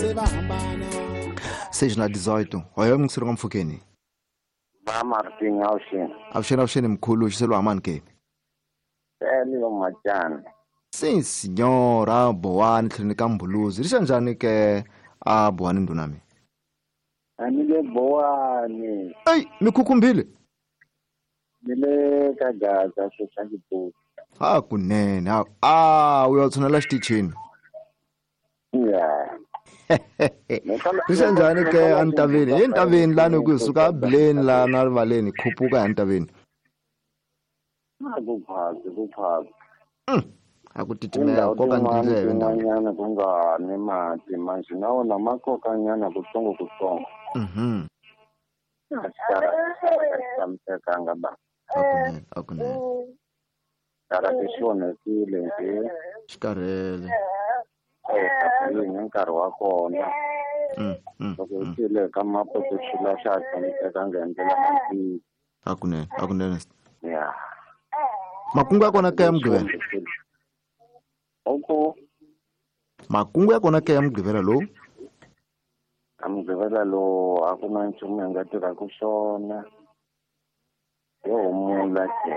Se va hambana. 6:18 hoyo mngisiro ngamfukeni. Va Martin avuxeni. Avuxeni avuxeni mkhulu xiselo hamani ke. Tele yo Machana. Sim senhora Bowani tlhelo ka Mbuluzi. Ri njhani ke a Bowani ndunami? A ni le Bowani. Ey, mi khukhumbile. Ni le ka Gaza sweswi. Ha kunene. A u ya tshunela xitichini. Yeah. Ri njhani ke antaveni? Hi ntaveni lani ku suka abileni la na rivaleni khupuka hi ntaveni. A ku phasi ku phasi. A ku titimela koka ndleve tin'wanyana ku nga ni mati manje na wona ma kokanyana kutsongo kutsongo. A tshamisekanga ba. Akunene akunene. Karate xi onhakile nje. Xi karhele. Hi nkarhi wa kona. Loko u tile ka mapoto xi la xa tshamisekanga hi ndlela ya Akunene akunene. Yeah. Makungu ya kona ka Mugqivela. Oko. Makungu ya kona ka Mugqivela lowu. Ka Mugqivela lowu a ku na nchumu hi nga tirhaka swona. Yo humula ke.